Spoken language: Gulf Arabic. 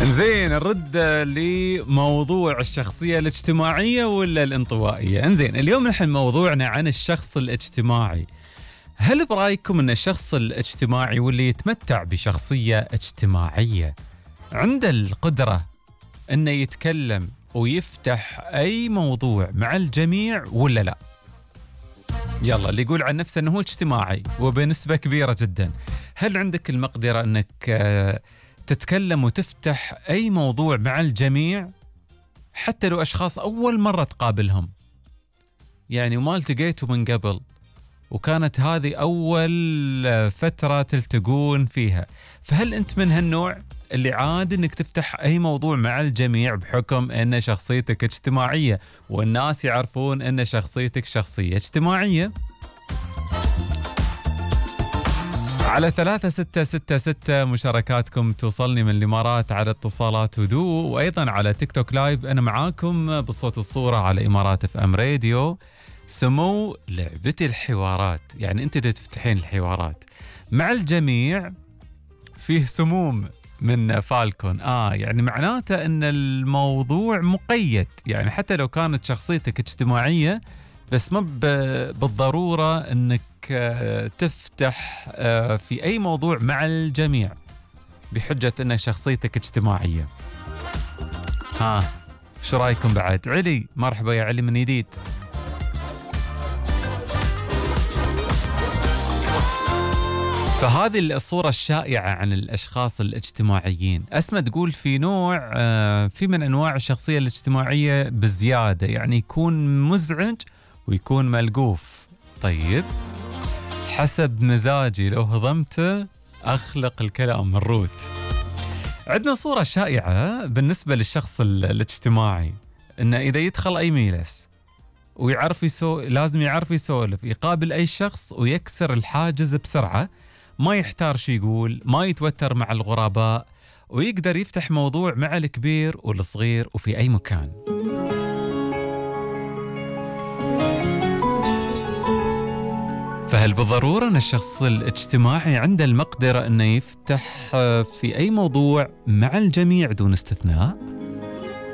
انزين نرد لموضوع الشخصية الاجتماعية ولا الانطوائية. انزين اليوم نحن موضوعنا عن الشخص الاجتماعي. هل برأيكم ان الشخص الاجتماعي واللي يتمتع بشخصية اجتماعية عنده القدرة انه يتكلم ويفتح اي موضوع مع الجميع ولا لا؟ يلا اللي يقول عن نفسه انه هو اجتماعي وبنسبة كبيرة جدا، هل عندك المقدرة انك تتكلم وتفتح أي موضوع مع الجميع حتى لو أشخاص أول مرة تقابلهم، يعني وما التقيتوا من قبل وكانت هذه أول فترة تلتقون فيها؟ فهل أنت من هالنوع اللي عاد أنك تفتح أي موضوع مع الجميع بحكم أن شخصيتك اجتماعية والناس يعرفون أن شخصيتك شخصية اجتماعية؟ على 3666 مشاركاتكم توصلني من الإمارات على اتصالات هدوء، وأيضا على تيك توك لايف أنا معاكم بصوت الصورة على إمارات اف ام راديو. سمو لعبتي الحوارات، يعني أنت تفتحين الحوارات مع الجميع فيه سموم من فالكون. يعني معناته أن الموضوع مقيد، يعني حتى لو كانت شخصيتك اجتماعية بس ما بالضرورة أنك تفتح في أي موضوع مع الجميع بحجة أن شخصيتك اجتماعية. شو رأيكم بعد؟ علي، مرحبا يا علي من جديد. فهذه الصورة الشائعة عن الأشخاص الاجتماعيين. أسمى تقول في نوع في من أنواع الشخصية الاجتماعية بزيادة، يعني يكون مزعج ويكون ملقوف. طيب حسب مزاجي لو هضمته أخلق الكلام الروت. عندنا صورة شائعة بالنسبة للشخص الاجتماعي إنه إذا يدخل أي ميلس ويعرف لازم يعرف يسولف، يقابل أي شخص ويكسر الحاجز بسرعة، ما يحتار شو يقول، ما يتوتر مع الغرباء، ويقدر يفتح موضوع مع الكبير والصغير وفي أي مكان. فهل بالضرورة أن الشخص الاجتماعي عنده المقدرة أنه يفتح في أي موضوع مع الجميع دون استثناء؟